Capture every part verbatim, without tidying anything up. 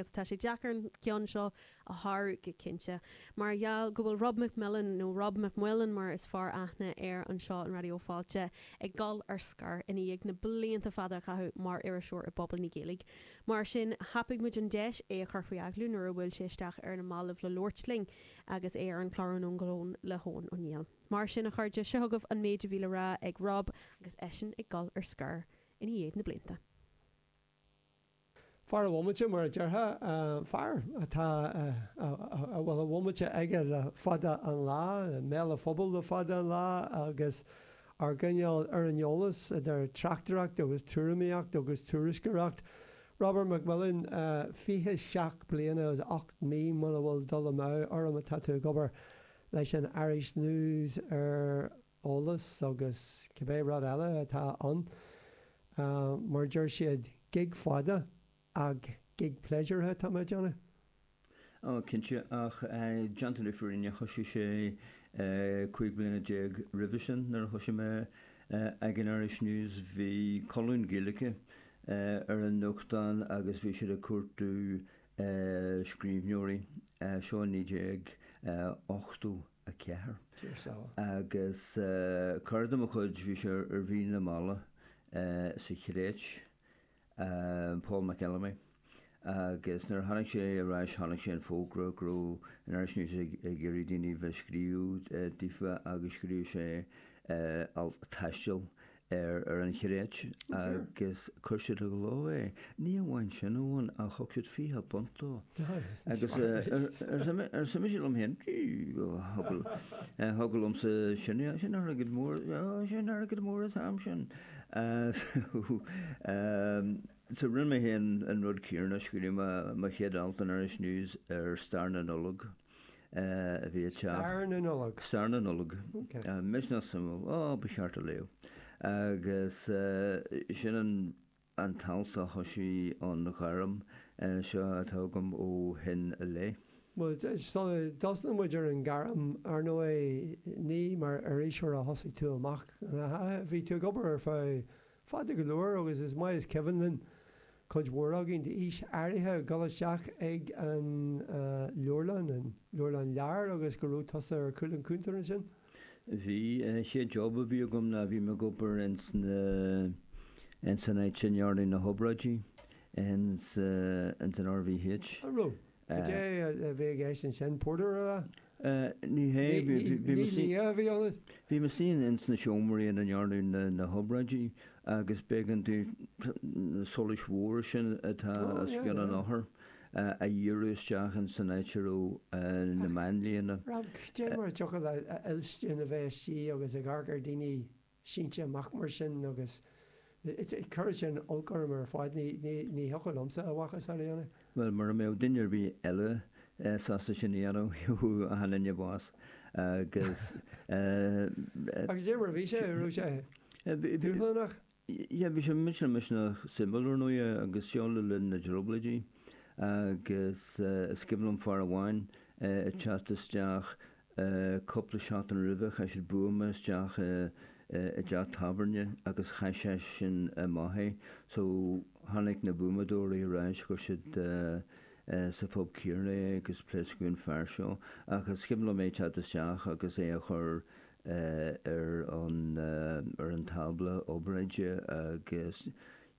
agus tá sé deacair an ceann seo a shárú go cinnte. Mar gheall go bhfuil Rob McMillan nó Rob McMillan mar is fearr aithne air anseo in Raidió Fáilte ag dul ar scor i ndiaidh na blianta fada a chaitheamh mar iriseoir i bpobal na Gaeilge. Mar sin thapaigh muid an deis é a chur faoi agallamh nuair a bhuail sé isteach ar na mallaibh le labhairt linn agus é ar an chlár Anonn go hEoin le hEoin Ó Néill. Mar sin a chairde seo chugaibh an méid a bhí le rá ag Rob agus eisean ag dul ar scor i ndiaidh na blianta. Fear a bhomaite mar a déarfá fear atá a bhfuil a bhomaite aige le fada an lá, mbéal an phobail le fada an lá agus ár gcoinneáil ar an eolas idir tráchtaireacht agus tuairimíocht agus tuairisceoireacht. Robert McMillan fiche seacht bliana agus ocht mí muna bhfuil dul amú orm atá tú ag obair leis an Irish News ar eolas agus cibé rud eile atá ann. Mar deir siad gig fada ach gig pléisiúrtha atá mé déanamh. Ó cinnte ach déanta na fírinne thosaigh sé cúig bliana déag roimhe sin nuair a thosaigh mé ag an Irish News bhí colún Gaeilge ar an nuachtán agus bhí siad ag cuartú scríbhneoirí seo naoi déag ochtó a ceathair. Agus cara de mo chuid bhí sé ar mhí na meala sa Chréit Paul McElamy. Agus nuair a tháinig sé ar ais tháinig sé an fógra go raibh an Irish News ag iarraidh daoine bheith scríobh daofa agus scríobh sé alt taistil ar ar an Chréit agus chuir siad i gcló é. Ní amháin sin amháin ach thug siad fiche punt dó. Agus arsa mise liom féin thiocfadh liomsa sin sin airgead mór sin airgead mór an t-am sin. So rinne mé féin an rud céanna scríobh mé mo chéad alt in Irish News ar stair na Nollag a bhí ag teacht. Stair na Nollag. Stair na Nollag. Misneach suimiúil. Ó, ba cheart a léamh. Agus sin an an t-alt a thosaigh an ghairm seo atá agam ó shin i leith. Bhuel, sula dtosnaíonn muid ar an ghairm, ar ndóigh, ní mar iriseoir a thosaigh tú amach. Bhí tú ag obair ar feadh fada go leor agus is maith is cuimhin linn cuid mhór againn d'aois áirithe dul isteach ag an leabharlann, an leabharlann leabhar agus go raibh tusa ar chúl an chuntair ansin. Bhí. An chéad job a bhí agam ná bhí mé ag obair ins na, ins an áit a ndearnadh na hobráidí, ins, ins an RVH. An raibh? Cad é a bhí i gceist ansin? Porter a rá? Ní hé, bhí, bhí Ní lia a bhí ionat? Bhí mé istigh ins na seomraí ina ndearnadh na hobráidí agus b'éigean domh na solais mhóra sin atá os cionn an othair a dhíriú isteach ins an áit a raibh na máinlianna. Rob, cad é mar a thiocfadh le fhuilstin a bheith istigh agus ag amharc ar daoine sínte amach mar sin agus cuireann sin olc orm ar fad, ní thiocfadh liomsa a mhacasamhail a dhéanamh. Bhuel, mura mbeadh duine ar bith eile sásta sin a dhéanamh, gheobhadh achan duine bás agus. Agus cad é mar a bhí sé, raibh sé dúshlánach? Yeah, bhí sé misneach misneach suimiúil ar ndóighe agus seo le linn na dTrioblóidí agus is cuimhin liom fear amháin ag teacht isteach Cúpla seachtain roimhe chaith siad buama isteach i dteach tábhairne agus chaith sé sin amach é. So tháinig na buamadóirí ar ais, chuir siad sa phub céanna é agus pléascadh an fear seo. Ach is cuimhin liom é teacht isteach agus é a chur ar an ar an tábla obráide agus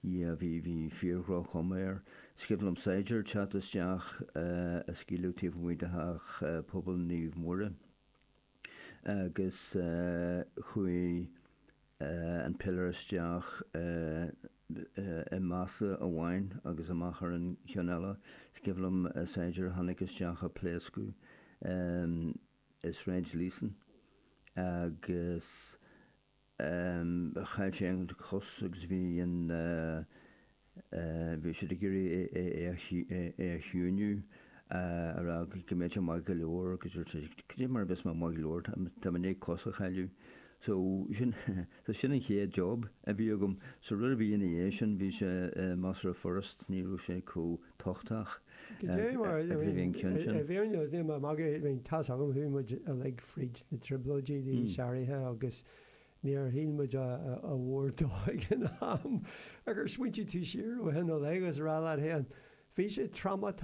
Yeah, bhí, bhí fíor-dhroch-chuma air. Is cuimhin liom saighdiúir teacht isteach a scaoileadh taobh amuigh de theach pobail Naomh Muire agus chuaigh an piléar isteach i mbasa amháin agus amach ar an cheann eile. Is cuimhin liom saighdiúir a tháinig isteach a pléascadh i Sráid Leeson agus Chaill sé an chos agus bhí an, bhí siad ag iarraidh é a chiúiniú, a rá go mbeadh sé maith go leor agus dúirt sé, cad é mar a bheas mé maith go leor, tá mé i ndiaidh cos a chailleadh. So sin, so sin an chéad job a bhí agam. So rud ar bith ina dhiaidh sin, bhí sé measartha furast, ní raibh sé chomh tochtach Cad é mar, I mean, i bhfírinne, níl mé ag magadh, I mean, tá's agam, chuaigh muid uilig fríd na trioblóidí d'aois áirithe agus níor shíl muid a mhór dó ag an am. Ach ar smaointigh tú siar ó shin i leith agus a rá leat féin, bhí sé trámatach?